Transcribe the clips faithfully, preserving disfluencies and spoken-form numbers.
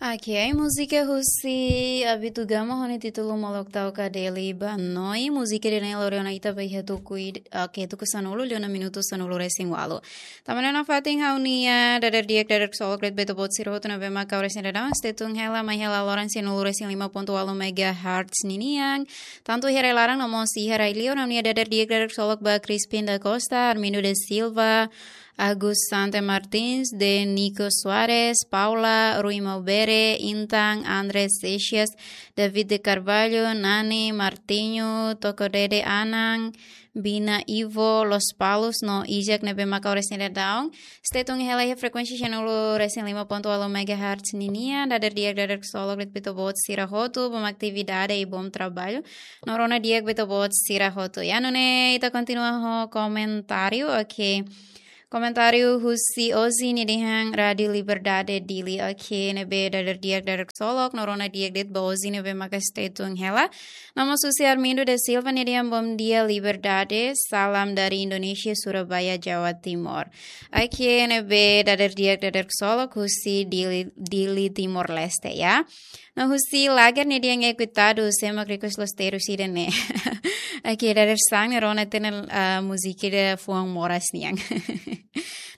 Ok, múzika husi Abitugama ho nia títulu Molok Tau Kadeli Banoi. Múzika ida-ne'e lori ona ita ba iha tuku id-, ok, tuku sanulu, liu ona minutu sanulu-resin-ualu. Tanba ne'e nafatin ha'u-nia dader di'ak dader ksolok de'it ba ita-boot sira hotu ne'ebé maka oras ne'e daudaun stay tune hela mai hela loron sanulu-resin-lima pontu ualu megahertz ninian. Tantu iha rai-laran no mós iha rai-liur, ha'u-nia dader di'ak dader ksolok ba Crispin da Costa, Armindo da Silva, Agus Sante Martins, De Nico Soares, Paula, Rui Maubere, Intan, Andres Seixas, David de Carvalho, Nani, Martinho, Toko Dede Anan, Bina Ivo, Los Palos, no Isaac ne'ebé maka oras ne'e daudaun stay tune hela iha frekuénsia sanulu-resin-lima pontu ualu megahertz ninian, dader di'ak dader ksolok de'it ba ita-boot sira hotu, bom atividade i bom trabalho. No rona di'ak ba ita-boot sira hotu. Ya, nune'e ita kontinua ho komentáriu, ok. Komentáriu husi Ozi, nia dehan Rádio Liberdade Dili, ok, ne'ebé dader di'ak dader ksolok, no rona di'ak de'it ba Ozi ne'ebé maka stay tune hela. No mós husi Armindo da Silva, nia dehan bom dia Liberdade, salam dari Indonesia, Surabaya, Jawa Timur. Ok, ne'ebé dader di'ak dader ksolok husi Dili, Dili Timor-Leste, ya. No husi Lager, nia dehan é coitado, sé mak request loos terus ida-ne'e. Ok, dader sang ne'e rona tiha ona, ah, múzika ida fuan moras nian.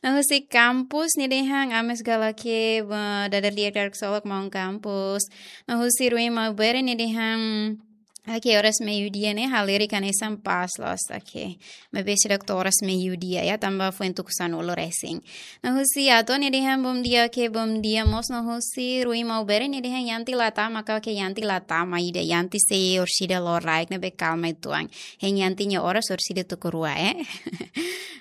No husi Campus, nia dehan ames galake, ba, dader di'ak dader ksolok maun Campus. No husi Rui Maubere, nia dehan, ok, oras meiudia ne'e halerik hanesan pas loos, ok. Maibé seidauk to'o oras meiudia, ya, tanba foin tuku sanulu-resin. No husi Ato, nia dehan bom dia, ok, bom dia mós. No husi Rui Maubere, nia dehan Yanti la tama ka, ok, Yanti la tama ida, Yanti sei orsida loraik ne'ebé kalma uitoan. Hein Yanti nia oras orsida tuku rua, eh.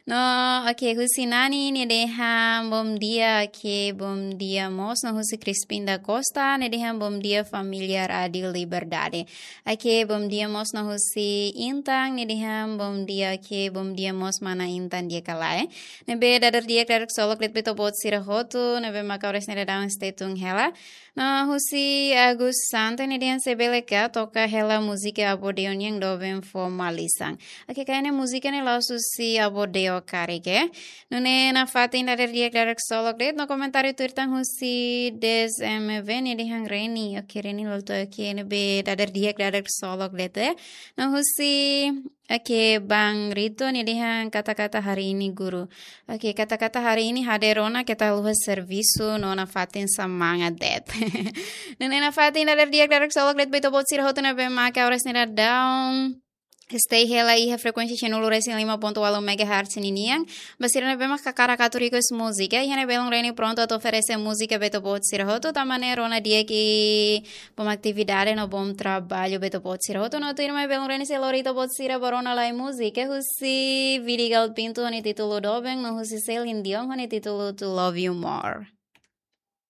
No, ok, husi Nani, nia dehan bom dia, ok, bom dia mós. No husi Crispin da Costa, nia dehan bom dia família Rádio Liberdade. Ok, bom dia mós. No husi Intan, nia dehan bom dia, ok, bom dia mós mana Intan di'ak ka lae. Ne'ebé dader di'ak dader ksolok de'it ba ita-boot sira hotu ne'ebé maka oras ne'e daudaun stay tune hela. No husi Agus Sante, nia dehan se bele ka toka hela múzika Avó Deo nian doben fó malisan. Ok, karik ne'e múzika ne'e la'ós husi Avó Deo karik, eh. Nune'e nafatin dader di'ak dader ksolok de'it. No komentáriu tuir tan husi Des M V, nia dehan Reni, ok, Reni Lolto, ok, ne'ebé dader di'ak dader ksolok de'it, eh. No husi, ok, Bang Rito, nia dehan kata-kata hari ini guru. Ok, kata-kata hari ini hadeer ona keta haluha servisu no nafatin semangat de'it. Nune'e nafatin dader di'ak dader ksolok de'it ba ita-boot sira hotu ne'ebé maka oras ne'e daudaun stay hela iha frekuénsia sanulu-resin-lima pontu ualu megahertz ninian. Ba sira ne'ebé maka hakarak atu request múzika, iha ne'e belun Reni prontu atu oferese múzika ba ita-boot sira hotu, tanba ne'e rona di'ak i bom atividade no bom trabalho ba ita-boot sira hotu. No tuirmai belun Reni sei lori ita-boot sira ba rona lai múzika husi Vidigal Pinto ho nia títulu Doben, no husi Celine Dion ho nia títulu To Love You More.